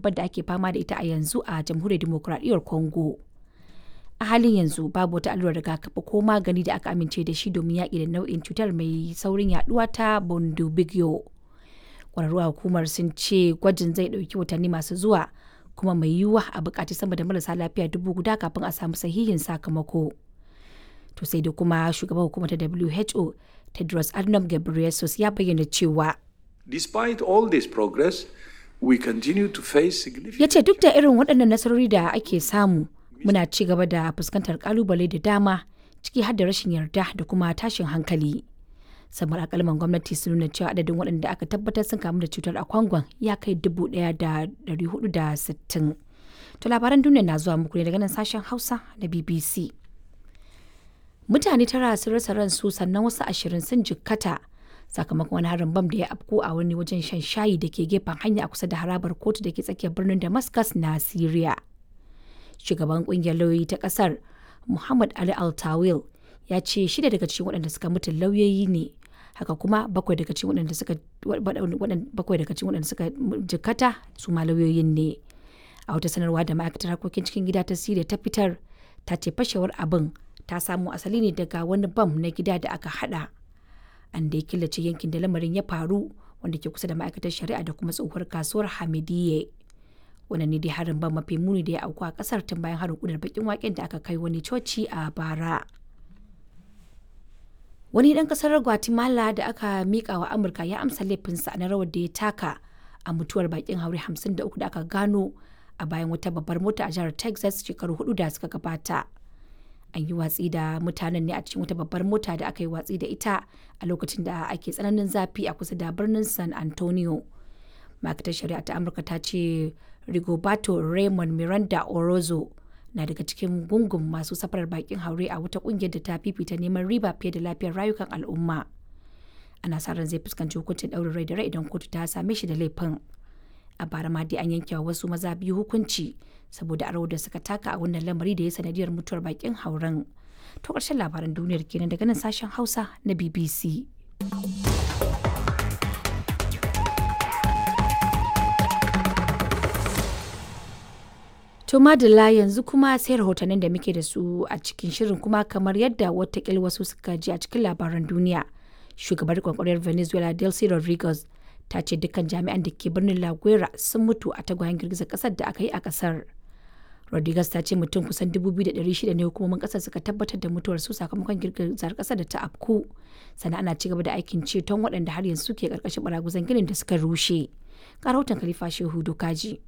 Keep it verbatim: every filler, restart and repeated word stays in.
annobar da ake fama da ita a yanzu a Jamhuriyar Dimokuraɗiyyar Congo. A halin yanzu babu wata allurar rigakafi ko magani da aka amince da shi domin yaƙi da nau'in cutar mai saurin yaduwa ta Bundibugyo. Ƙwararru a hukumar sun ce gwajin zai ɗauki watanni masu zuwa kuma mai yiwuwa a buƙaci sama da marasa lafiya dubu guda kafin a samu sahihin sakamako. To sai dai kuma shugaban hukumar ta W H O Tedros Adhanom Ghebreyesus ya bayyana cewa Despite all this progress, we continue to face significant Ya ce duk da irin waɗannan nasarori da ake samu, muna ci gaba da fuskantar kalubale da dama, ciki har da rashin yarda da kuma tashin hankali. Samar alƙalman gwamnati sun nuna cewa adadin waɗanda aka tabbatar sun kamu da cutar a Kwangon ya kai dubu ɗaya da ɗari huɗu da sittin. To, labaran duniya na zuwa muku ne daga nan sashen Hausa na B B C. Mutane tara sun rasa ransu sannan wasu ashirin sun jikkata sakamakon wani harin bam da ya afku a wani wajen shan shayi da ke gefen hanya a kusa da harabar kotu da ke tsakiyar birnin Damascus na Syria. Shugaban kungiyar lauyoyi ta kasar, Muhammad Ali Altawil, ya ce shida daga cikin waɗanda suka mutu lauyoyi ne. Haka kuma bakwai daga cikin waɗanda suka bakwai daga cikin waɗanda suka jikkata su ma lauyoyin ne. A wata sanarwa da ma'aikatar harkokin cikin gida ta Syria ta fitar, ta ce fashewar abin ta samo asali ne daga wani bam na gida da aka hada. An da ya killace yankin da lamarin ya faru, wanda ke kusa da ma'aikatar shari'a da kuma tsohuwar kasuwar Hamidiyye. Wannan ne dai harin bam mafi muni da ya auku a kasar tun bayan harin kunar bakin waken da aka kai wani coci a bara. Wani ɗan kasar Guatemala da aka mika wa Amurka ya amsa laifinsa na rawar da ya taka a mutuwar bakin haure hamsin da uku da aka gano a bayan wata babbar mota a jihar Texas shekaru hudu da suka gabata. An yi watsi da mutanen ne a cikin wata babbar mota da aka yi watsi da ita a lokacin da ake tsananin zafi a kusa da birnin San Antonio. Ma'aikatar shari'a ta Amurka ta ce Rigoberto Raymond Miranda Orozo na daga cikin gungun masu safarar bakin haure a wata kungiyar da ta fifita neman riba fiye da lafiyar rayukan al'umma. Ana sa ran zai fuskanci hukuncin ɗaurin rai da rai idan kotu ta same shi da laifin. A bara ma dai an yanke wa wasu maza biyu hukunci saboda rawar da suka taka a wannan lamari da ya sanadiyar mutuwar bakin hauren. To, ƙarshen labaran duniyar kenan daga nan sashen Hausa na B B C. To madalla, yanzu kuma sai rahotannin da muke da su a cikin shirin. Kuma kamar yadda watakil wasu suka ji a cikin labaran duniya, shugabar kwakwariyar Venezuela Delcy Rodriguez ta ce dukkan jami'an da ke birnin La Guaira sun mutu a tagwayen girgizar kasar da aka yi a kasar. Rodriguez ta ce mutum kusan dubu biyu da ɗari shida ne hukumomin kasar suka tabbatar da mutuwar su sakamakon girgizar kasar da ta afku. Sannan ana ci gaba da aikin ceton waɗanda har yanzu ke karkashin baraguzan ginin da suka rushe. Ga rahoton Khalifa Shehu Dokaji.